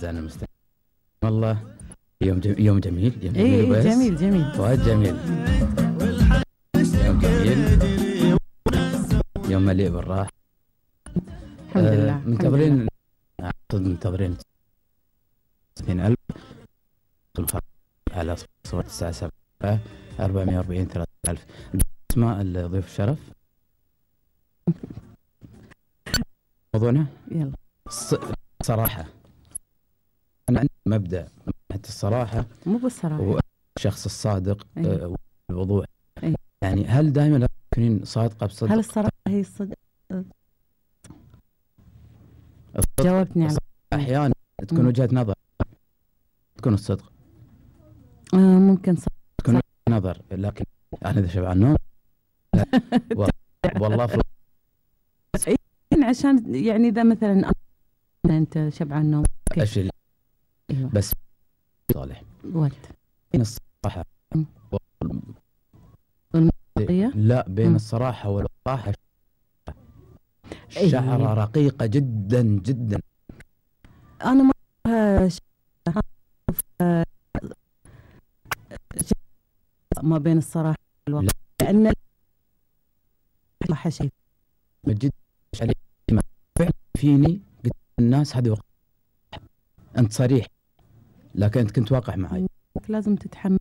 أعزائنا المستمعين، والله يوم جميل، يوم إيه جميل، بس جميل جميل. وايد جميل، يوم جميل، يوم مليء بالراحة. الحمد لله. منتظرين، منتظرين 60,000 على صورة الساعة 7 440 3,000. اسماء الضيوف الشرف. موضوعنا يلا. صراحة، أنا عندي مبدأ حتى الصراحة، مو بالصراحة، والشخص الصادق والوضوح. أيه. يعني هل دائما تكونين صادقة بصدق؟ هل الصراحة هي الصدق؟ جاوبتني على أحيانا تكون وجهة نظر، تكون الصدق ممكن صدق. تكون وجهة نظر، لكن أنا إذا شبعان نوم والله عشان يعني إذا مثلا أنت شبعان نوم إيش اللي أيوة. بس صالح ولد بين الصراحة لا، بين الصراحة والوضاحة شعرة رقيقة جدا جدا. أنا ما ما بين الصراحة والوضاحة، لأن الصراحة شيء جدا علي فعلا فيني. قلت الناس هذه أنت صريح، لكن أنت كنت واقع معي. لازم تتحمل